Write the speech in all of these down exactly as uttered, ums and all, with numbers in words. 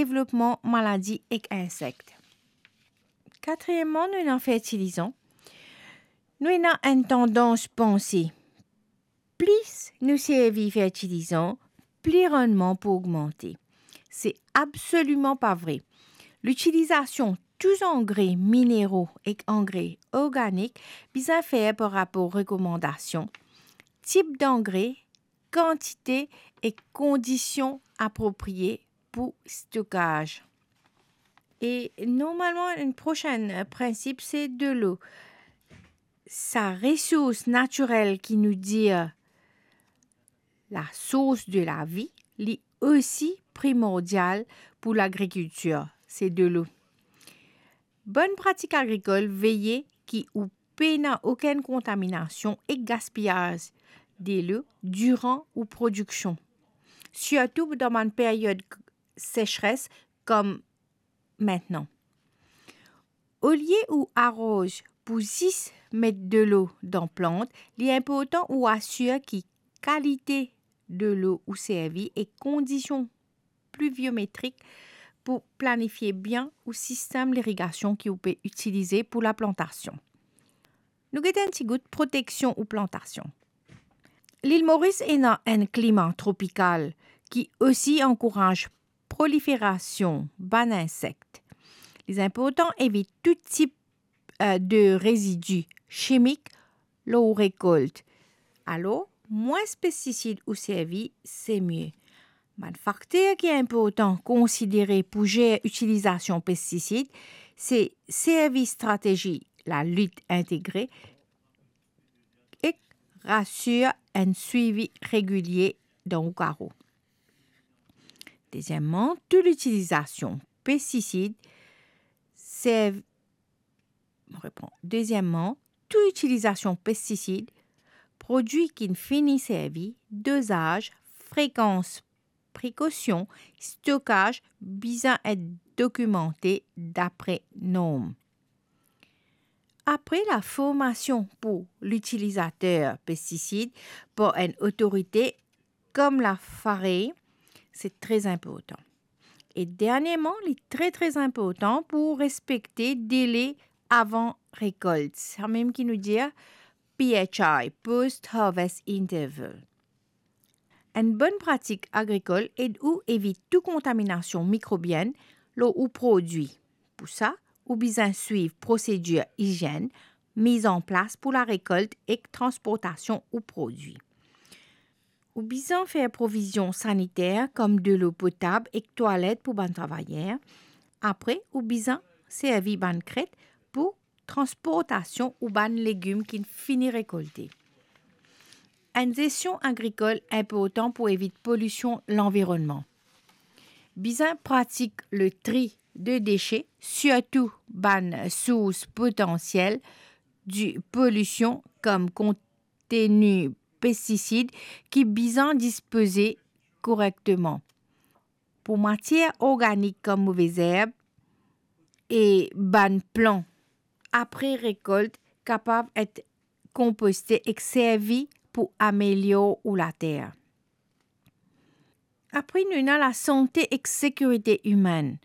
devlopman maladi ek insek. Katriyeman, nou ena fertilizan. Nou ena enn tandans panse, plis nou servi fertilizan, pli rannman pou ogmante. Se absoliman pa vre. Litilizasion tou zangre minero ek angre organik bizin fer par rapor rekomandasion, tip dangre, kantite ek kondision apropriye pou stokaz. E normalman, enn prosin, eh, prinsip, se delo. Sa resours natirel ki nou dir la source de la vie, li osi primordial pou lagrikiltir, se delo. Bonn pratik agrikol veye ki ou pena okenn kontaminasion ek gaspiyaz delo diran ou prodiksion, sirtou dan bann period sesres kom mintnan. Olie ou aroz pou zis met delo dan plant, li inportan ou asir ki kalite delo ou servi e kondision pliviometrik pou planifie bien ou sistem lirigasion ki ou pe itilize pou laplantasion. Nou get enn ti gout proteksion ou plantasion. Lil Moris ena enn klima tropikal ki osi ankouraz proliferasion bann insek. Li inportan evit tou tip, eh, de rezidi simik lor ou rekolt. Alor, mwins pestisid ou servi, se mie. Bann fakter ki inportan konsidere pou zer itilizasion pestisid, se servi stratezi lalit integre ek asir enn swivi regilie dan ou karo. Dezieman, tou litilizasion pestisid serv-, mo repran. Dezieman, tou itilizasion pestisid, prodwi ki'nn fini servi, dozaz, frekans, prekosion, stokaz bizin et dokimante dapre norm. Apre, laformasion pou litilizater pestisid par enn otorite kom la FAREI, se tre inportan. E derniereman, li tre, tre inportan pou respekte dele avan rekolt, samem ki nou dir P H I, Post Harvest Interval. Enn bonn pratik agrikol ed ou evit tou kontaminasion mikrobienn lor ou prodwi. Pou sa, ou bizin swiv prosedir izienn miz an plas pou larekolt ek transportasion ou prodwi. Ou bizin fer provizion saniter kom delo potab ek twalet pou bann travayer. Apre, ou bizin servi bann kret pou transportasion ou bann legim ki'nn fini rekolte. Enn zesion agrikol inportan pou evit polision lanvironnman. Bizin pratik le tri de dese, sirtou bann sours potansiel de polision kom konteni pestisid ki bizin dispoze korekteman. Pou matier organik kom move zerb e bann plan apre rekolt kapav et konposte ek servi pou amelior ou later. Apre, nou ena lasante ek sekirite imenn.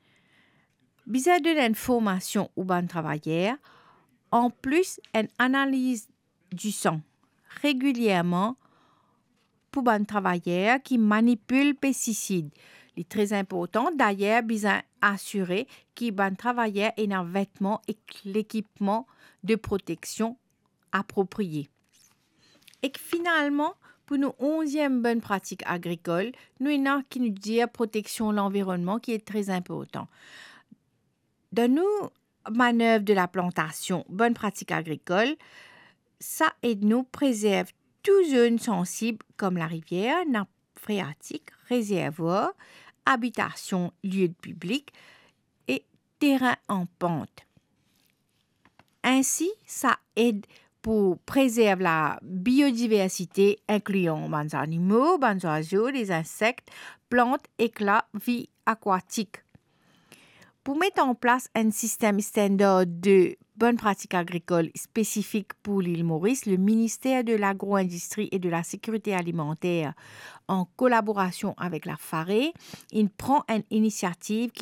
Bizin donn enn formasion ou bann travayer, anplis enn analiz disan regilierman pou bann travayer ki manipil pestisid. Li tre inportan, dayer bizin asire ki bann travayer ena vetman ek lekipman de proteksion apropriye. Ek finalman, pou nou onziem bonn pratik agrikol, nou ena ki nou dir proteksion lanvironnman ki e tre inportan. Dan nou manev de laplantasion, bonn pratik agrikol, sa ed nou prezerv tou zone sansib kom larivier, nap freatik, rezervwar, abitasion, lie piblik e terin an pant. Ensi, sa ed pou prezerv labiodiversite, inklian bann zanimo, bann zwazo, lezinsek, plant ek lavi akwatik. Pou met an plas enn sistem standar de bonn pratik agrikol spesifik pou Lil Moris, le Minister de Lagro-Indistri e de la Sekirite Alimanter, an kolaborasion avek la FAREI, inn pran enn inisiativ ki